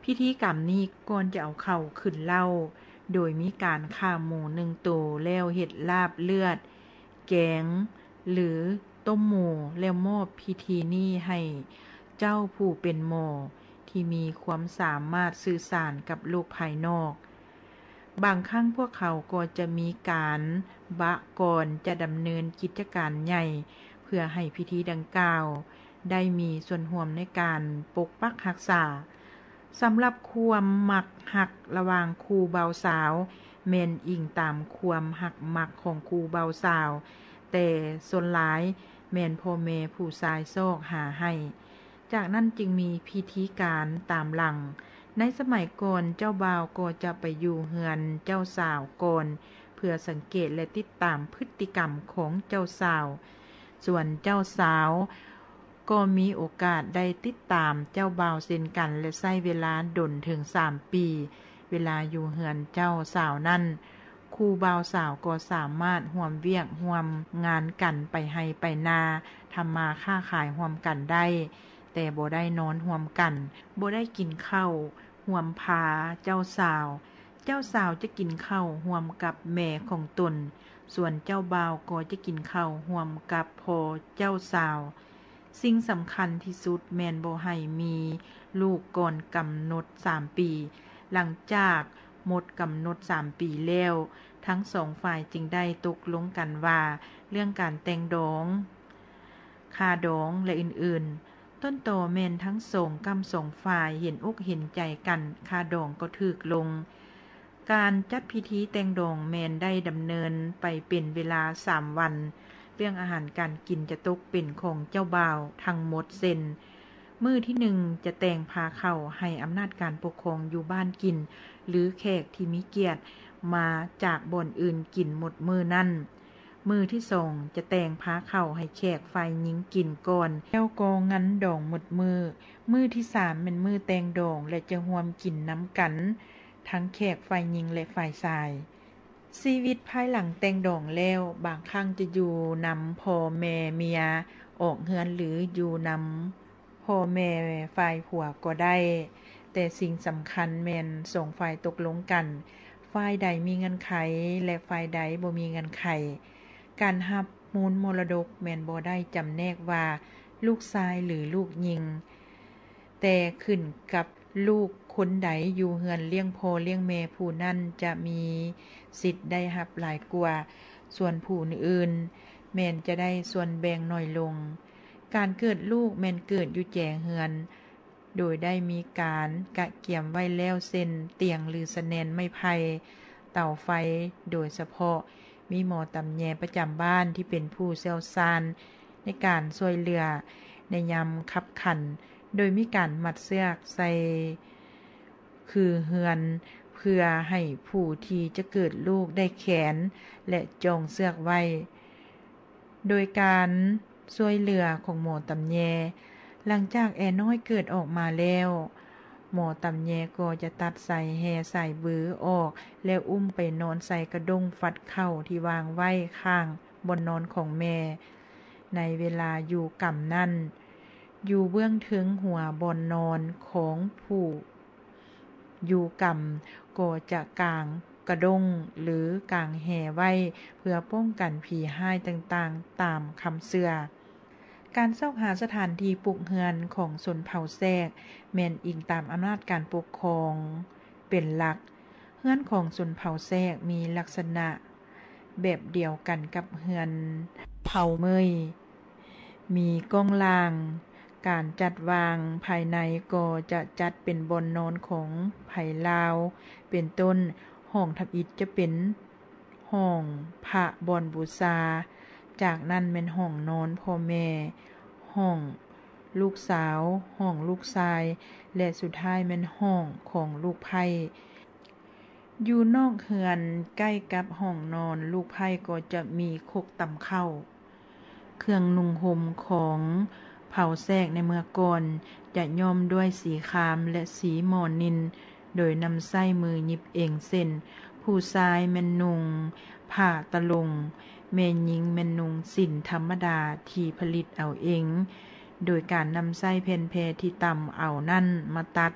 ພິທີກຳນີ້ ກ່ອນຈະເອົາເຂົ້າຂຶ້ນເລົ້າ ໂດຍມີການຂ້າໝູໜຶ່ງໂຕ ແລ້ວເຮັດລາບເລືອດ, ແກງ ຫຼື ຕົ້ມໝູ ແລ້ວມອບພິທີນີ້ໃຫ້ເຈົ້າຜູ້ເປັນໝໍ ທີ່ມີຄວາມສາມາດສື່ສານກັບໂລກພາຍນອກ. ບາງຄັ້ງພວກເຂົາກໍຈະມີການບະກ່ອນຈະດຳເນີນກິດຈະການໃຫຍ່ ເພື່ອໃຫ້ພິທີດັ່ງກ່າວໄດ້ມີສ່ວນຮ່ວມໃນການປົກປັກຮັກສາ. ສຳລັບຄວາມມັກຮັກລະຫວ່າງຄູ່ບ່າວສາວ ແມ່ນອີງຕາມຄວາມຮັກມັກຂອງຄູ່ບ່າວສາວ, ແຕ່ສ່ວນຫຼາຍແມ່ນພໍ່ແມ່ຜູ້ຊາຍຊອກຫາໃຫ້. ຈາກນັ້ນຈຶ່ງມີພິທີການຕາມຫຼັງ. ໃນສະໄໝກ່ອນ ເຈົ້າບ່າວກໍຈະໄປຢູ່ເຮືອນເຈົ້າສາວກ່ອນ ເພື່ອສັງເກດ ແລະ ຕິດຕາມພຶດຕິກຳຂອງເຈົ້າສາວ. ສ່ວນເຈົ້າສາວກໍມີໂອກາດໄດ້ຕິດຕາມເຈົ້າບ່າວເຊັ່ນກັນ ແລະ ໃຊ້ເວລາດົນເຖິງສາມປີ. ເວລາຢູ່ເຮືອນເຈົ້າສາວນັ້ນ, ຄູ່ບ່າວສາວກໍສາມາດຮ່ວມວຽກຮ່ວມງານກັນ ໄປໄຮ່ໄປນາ, ທຳມາຄ້າຂາຍຮ່ວມກັນໄດ້, ແຕ່ບໍ່ໄດ້ນອນຮ່ວມກັນ, ບໍ່ໄດ້ກິນເຂົ້າຮ່ວມພາເຈົ້າສາວ. ເຈົ້າສາວຈະກິນເຂົ້າຮ່ວມກັບແມ່ຂອງຕົນ, ສ່ວນເຈົ້າບ່າວກໍຈະກິນເຂົ້າຮ່ວມກັບພໍ່ເຈົ້າສາວ. ສິ່ງສຳຄັນທີ່ສຸດແມ່ນບໍ່ໃຫ້ມີລູກກ່ອນກຳນົດສາມປີ. ຫຼັງຈາກໝົດກຳນົດສາມປີແລ້ວ, ທັງສອງຝ່າຍຈຶ່ງໄດ້ຕົກລົງກັນວ່າ ເລື່ອງການແຕ່ງດອງ, ຄ່າດອງ ແລະ ອື່ນໆ. ຕົ້ນຕໍແມ່ນທັງສອງກ້ຳສອງຝ່າຍເຫັນອົກເຫັນໃຈກັນ, ຄ່າດອງກໍຖືກລົງ. ການຈັດພິທີແຕ່ງດອງແມ່ນໄດ້ດຳເນີນໄປເປັນເວລາສາມວັນ. ເລື່ອງອາຫານການກິນຈະຕົກເປັນຂອງເຈົ້າບ່າວທັງໝົດເຊັ່ນ, ມື້ທີໜຶ່ງຈະແຕ່ງພາເຂົ້າໃຫ້ອຳນາດການປົກຄອງຢູ່ບ້ານກິນ ຫຼື ແຂກທີ່ມີກຽດມາຈາກບ່ອນອື່ນກິນໝົດມື້ນັ້ນ. ມື້ທີສອງຈະແຕ່ງພາເຂົ້າໃຫ້ແຂກຝ່າຍຍິງກິນກ່ອນ, ແລ້ວກໍງັນດອງໝົດມື້. ມື້ທີສາມແມ່ນມື້ແຕ່ງດອງ ແລະ ຈະຮ່ວມກິນນຳກັນທັງແຂກຝ່າຍຍິງ ແລະ ຝ່າຍຊາຍ. ຊີວິດພາຍຫຼັງແຕ່ງດອງແລ້ວ ບາງຄັ້ງຈະຢູ່ນຳພໍ່ແມ່ເມຍອອກເຮືອນ ຫຼື ຢູ່ນຳ ພໍ່ແມ່ຝ່າຍຜົວກໍໄດ້, ແຕ່ສິ່ງສຳຄັນແມ່ນສອງຝ່າຍຕົກລົງກັນ, ຝ່າຍໃດມີເງື່ອນໄຂ ແລະ ຝ່າຍໃດບໍ່ມີເງື່ອນໄຂ. ການຮັບມູນມໍລະດົກແມ່ນບໍ່ໄດ້ຈຳແນກວ່າລູກຊາຍ ຫຼື ລູກຍິງ, ແຕ່ຂຶ້ນກັບລູກຄົນໃດຢູ່ເຮືອນລ້ຽງພໍ່ລ້ຽງແມ່, ຜູ້ນັ້ນຈະມີສິດໄດ້ຮັບຫຼາຍກວ່າ, ສ່ວນຜູ້ອື່ນແມ່ນຈະໄດ້ສ່ວນແບ່ງໜ້ອຍລົງ. ການເກີດລູກແມ່ນເກີດຢູ່ແຈເຮືອນ, ໂດຍໄດ້ມີການກະກຽມໄວ້ແລ້ວ ເຊັ່ນ ຕຽງ ຫຼື ສະແໜນໄມ້ໄຜ່, ເຕົາໄຟ, ໂດຍສະເພາະມີໝໍຕຳແຍປະຈຳບ້ານທີ່ເປັນຜູ້ຊ່ຽວຊານໃນການຊ່ວຍເຫຼືອໃນຍາມຄັບຂັນ, ໂດຍມີການມັດເຊືອກໃສ່ ຄືເຮືອນ ເພື່ອໃຫ້ຜູ້ທີ່ຈະເກີດລູກໄດ້ແຂນ ແລະ ຈອງເຊືອກໄວ້ ໂດຍການຊ່ວຍເຫຼືອຂອງໝໍຕຳແຍ. ຫຼັງຈາກແອນ້ອຍເກີດອອກມາແລ້ວ, ໝໍຕຳແຍກໍຈະຕັດສາຍແຮ່ສາຍບືອອກ ແລ້ວອຸ້ມໄປນອນໃສ່ກະດົ້ງຟັດເຂົ້າທີ່ວາງໄວ້ຂ້າງບ່ອນນອນຂອງແມ່. ໃນເວລາຢູ່ກຳນັ້ນ, ຢູ່ເບື້ອງເທິງຫົວບ່ອນນອນຂອງຜູ້ ຢູ່ກຳກໍຈະກາງກະດົ້ງ ຫຼື ກາງແຮ່ໄວ້ ເພື່ອປ້ອງກັນຜີຮ້າຍຕ່າງໆ ຕາມຄຳເຊື່ອ. ການຊອກຫາສະຖານທີ່ປຸກເຮືອນຂອງຊົນເຜົ່າແຊກ ແມ່ນອີງຕາມອຳນາດການປົກຄອງເປັນຫຼັກ. ເຮືອນຂອງຊົນເຜົ່າແຊກມີລັກສະນະແບບດຽວກັນກັບເຮືອນເຜົ່າເມີຍ. ມີກ້ອງລ່າງ, ການຈັດວາງພາຍໃນກໍຈະຈັດເປັນບ່ອນນອນຂອງໃຜລາວ ເປັນຕົ້ນ ຫ້ອງທຳອິດຈະເປັນຫ້ອງພະບ່ອນບູຊາ, ຈາກນັ້ນແມ່ນຫ້ອງນອນພໍ່ແມ່, ຫ້ອງລູກສາວ, ຫ້ອງລູກຊາຍ ແລະ ສຸດທ້າຍແມ່ນຫ້ອງຂອງລູກໃພ້. ຢູ່ນອກເຮືອນໃກ້ກັບຫ້ອງນອນລູກໃພ້ກໍຈະມີຄົກຕຳເຂົ້າ. ເຄື່ອງນຸ່ງຫົ່ມຂອງເຜົ່າແຊກໃນເມື່ອກ່ອນຈະຍ້ອມດ້ວຍສີຄາມ ແລະ ສີໝໍນິນ ໂດຍນຳໃຊ້ມືຫຍິບເອງເຊັ່ນ ຜູ້ຊາຍແມ່ນນຸ່ງຜ້າຕະຫຼົງ, ແມ່ຍິງແມ່ນນຸ່ງສິ້ນທຳມະດາທີ່ຜະລິດເອົາເອງ, ໂດຍການນຳໃຊ້ແຜ່ນແພທີ່ຕຳເອົານັ້ນມາຕັດ